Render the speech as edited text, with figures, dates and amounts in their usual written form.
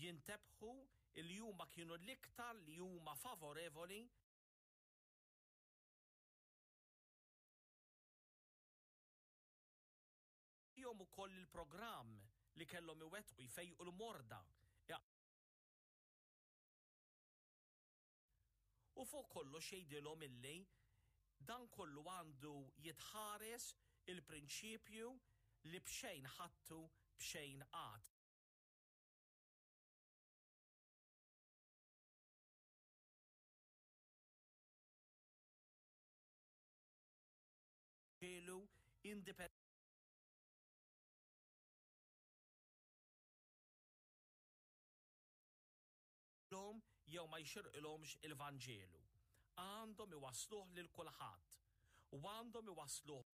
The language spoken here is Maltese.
Jintebħu li huma kienu l-iktar li huma favorevoli Jagħtihom ukoll il-programm li kellhom iwettqu, jfejqu l-morda, U fuq kollox jgħidilhom illi dan kollu għandu jitħares il-prinċipju li b'xejn ħadtu b'xejn agħtu. Ġelu lhom jew ma jxirqilhomx il-Vanġelu. Għandhom iwassluh lil kulħadd. U għandhom iwassluh.